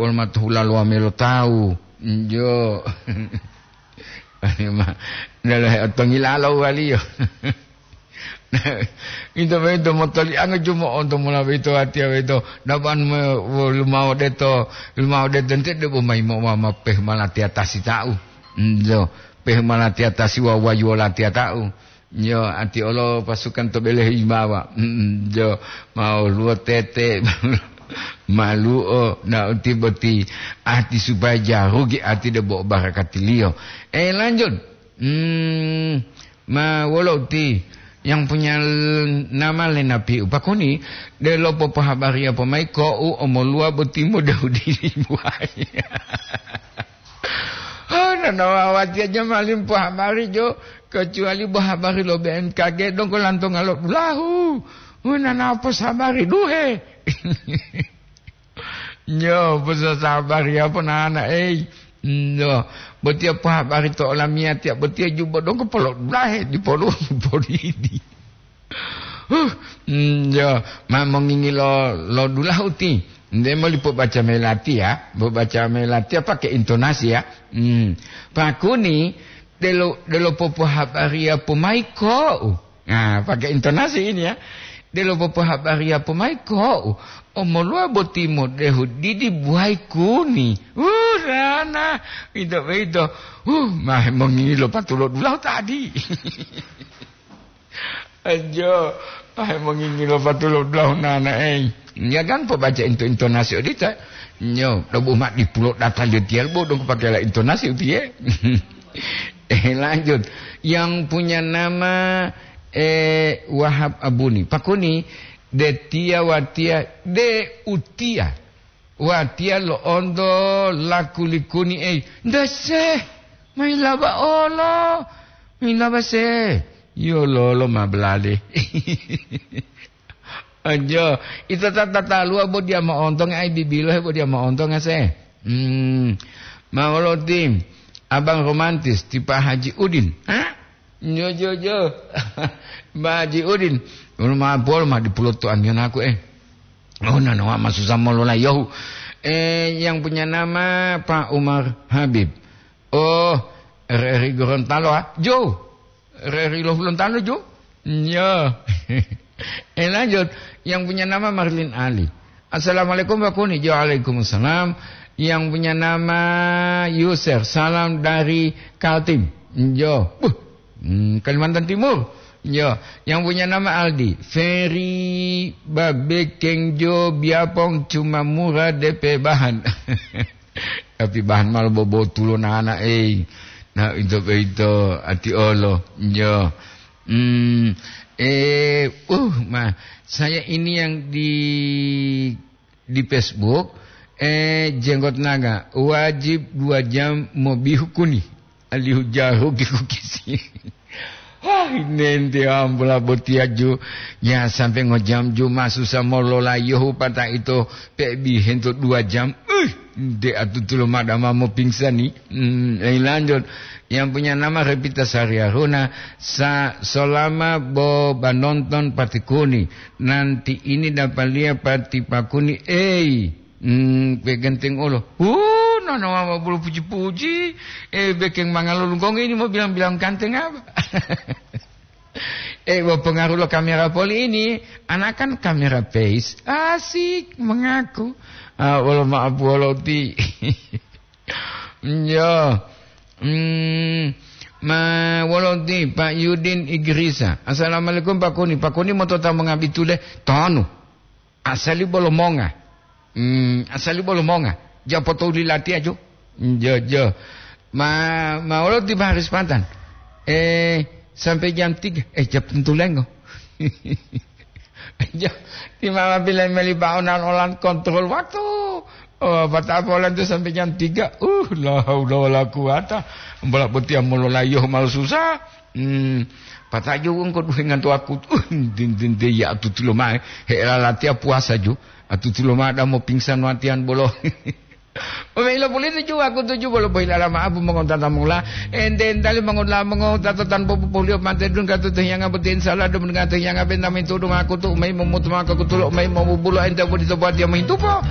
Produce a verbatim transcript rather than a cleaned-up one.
wolo matohula lo wamelo tawu. Jo. Ma, dolohe otongilalo waliyo. Ito boyito motolianga jumo onto mola boyito watiya boyito. Dapan me, wo, lumao deto, lumao deto ente debo mayi mo, ma, ma peh malatiya tasi tau. Njo, peh malatiya tasi wa wayu latiya tau. Njo, ati olo pasukan to bele himawa. Mm, njo, mau luo tete, maluo, na uti boti ati supaya jarugi ati debo barakatiliyo. Eh, lanjut. Hmm, ma wolo uti yang punya l-, nama Lenapiu pakuni, delo popohabariya pomai ko'u omoluwa boti modehu dili buaya. Oh, nana wawati aja malim pohabari jo, kecuali bo habari lo B M K G dongko lantonga lo dulahu. Oh, nana posabari duhe. Nyo, posa sabari apo nana, ei. Nyo, botiya pohabari to olamiyatiya, botiya jubo donggo polodulahe, dipolu, polidi. Huh, nyo, ma mongingi lo, lo dulahu ti. Nde moli pobaca melatiya, pobaca melatiya pakai intonasi ya. Hmm. Pakuni, delo, delo popohabariya pomai ko'u. Nah, pakai intonasi ini ya. Delo popohabariya pomai ko'u. Omoluwa boti modehu didi buwai kuni. Uh, rana. Ito, ito. Uh, mah mongilo patulo dulahu tadi. Ajo, pahe mongingilo patulo dulahu nana, ei. Ya kan, pobaca into-, intonasi odita. Nyo, dobu ma dipulo data letial bo dong pakai la intonasi utie. Eh, lanjut. Yang punya nama, eh, Wahab Abuni. Pakuni, detia watia, de utia. Watiya lo'onto lakulikuni ei, "Ndase, mailaba olo, mailaba se." Yo lolo ma belade. Ajo, ito ta-, tataluwa bo diya mo'ontonga ai bibilo he bo diya mo'ontonga se. Hmm, ma wolo ti abang romantis ti Pa Haji Udin. Hah? Jo, jo, jo. Mbak Haji Udin, wolo ma polo ma dipuloto amiyanaku, eh. Oh, nanawa masusa molola yohu. Eh, yang punya nama Pak Umar Habib. Oh, R R I Gorontalo, ah. Jo. R R I lo Gorontalo, Jo. Yo. Eh, lanjut. Yang punya nama Marlin Ali. "Assalamualaikum, Pak Kuni." Jo, waalaikumsalam. Yang punya nama Yuser, "Salam dari Kaltim." Jo. Buh. Hmm, Kalimantan Timur. Jo. Yang punya nama Aldi, "Ferry Babekeng Jo Biapong cuma murah D P bahan." Tapi bahan malo bobotulo nana, ei. Nah, ito, ito, ati olo. Jo. Hmm, eh, uh, ma, saya ini yang di, di Facebook, eh, Jenggot Naga, wajib dua jam mobihu kuni. Alihu jahu ki kukisi. Wah, nente ambola botiya ju. Ya, sampai ngojam ju masusa molola yohu pata ito pebi hento dua jam. Uh, de atutulo madama mo pingsani. Hmm, eh, lanjut. Yang punya nama Revita Sariaruna, sa-, selama bo banonton patikuni, nanti ini dapat lihat pati pakuni, ei, hmm, begenteng olo. Uh, nono mama bulu puji-puji, eh, bekeng mangalulungkong ini mau bilang-bilang ganteng apa? Eh, bo pengaruh lo kamera poli ini, anak kan kamera face, asik mengaku. Ah, wolo maaf, wolo ti. Iya. Hmm, ma, wolo ti, Pak Yudin Igrisa. "Assalamualaikum, Pak Kuni. Pak Kuni motota mongabitule tonu. Asali bolo monga. Hmm, asali bolo monga. Japo toli latiya jo." Jo, jo. Ma, ma wolo ti Pak Haris Pantan. Eh, sampai jam tiga. Eh, jam tentu lengo. Ja-, ti mama bilang meli baonan olan kontrol waktu. Oh, patapa olan tu sampai jam tiga. Uh, la haula wala quwata. Bola botiya molola yohu malu susah. Hmm, patajo wong ko duhengan to aku. Uh, din, din, de ya atutulo mae. He la latiya puasa ju. Atutulo mae damo pingsan watian bolo. Omailo puliti ju aku tuju bolo boyilala ma'apu mongotata mula. Ente entali mongotala mongotata tanpa popolio mate dun katu tehiyanga boti insala dum dengan tehiyanga benta mintu dum aku tu umai momutu maka kutulo umai momubulo ente bodi to buat dia mohintupo.